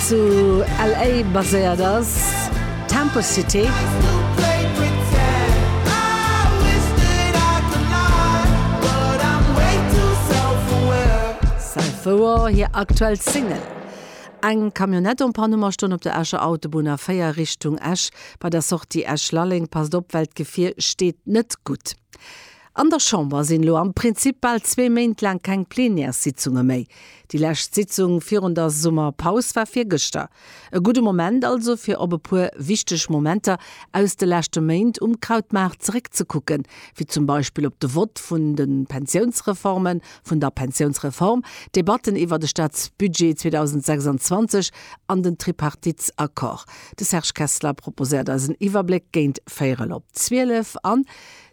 zu LA baséiert ass, Temple City. Self-Aware, hir aktuell Single. Eng Camionnette en panne mer stoung op der Escher Autobunn A4 Richtung Esch bei der Sortie Esch-Lalleng. Passt op, well d'Gefier steet net gutt. An der Chamber sinn elo am Prinzip bal zwee Méint laang keng Plenièressitzunge méi. Déi lescht Sitzung virun der Summerpaus war virgëschter. E gudde Moment also fir op e puer wichteg Momenter aus de leschte Méint um Krautmaart zeréckzekucken, wéi zum Beispill op de Vott vun de Pensiounsreformen, vun der Pensiounsreform, d'Debatten iwwer de Staatsbudget 2026 an den Tripartitesaccord. De Serge Kessler proposéiert eis en Iwwerbléck géint véierel op 12 an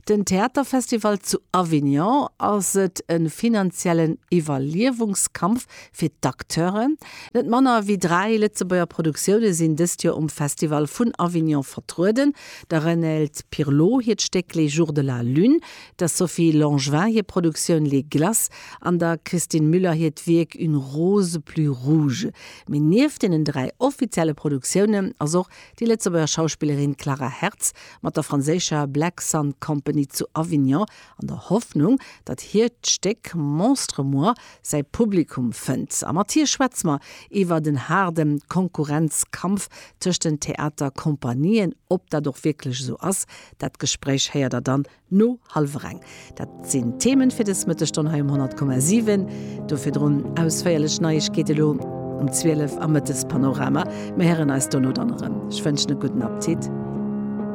den Theaterfestival zu Avignon. Ass et e finanziellen Iwwerliewungskampf fir d'Acteuren? Net manner wéi 3 Lëtzebuerger Produktioune sinn dëst Joer um Festival vun Avignon vertrueden, der Renelde Pirlot hiert Stéck Les jours de la lune, der Sophie Langevin hir Produktioun Les Glaces an der Christine Müller hiert Wierk Une rose plus rouge. Mee nieft deenen 3 offizielle Produktiounen ass och déi Lëtzebuerger Schauspillerin Clara Hertz mat der franséischer Black Sun Company zu Avignon an der Hoffnung, datt hiert Stéck Monstre moi säi Publikum fënnt. A mat hir schwätze mer iwwer den haarde Konkurrenzkampf tëscht den Theaterkompanien. Ob dat och wierklech esou ass, dat Gespréich héiert der dann no hallwer eng. Dat sinn d'Themen fir dës Mëttesstonn hei um 100,7. Do virdrun ausféierlech Neiegkeete lo um 12 am Mëttespanorama. Mir héieren eis dono dann erëm. Ech wënschen e gudden Appetit.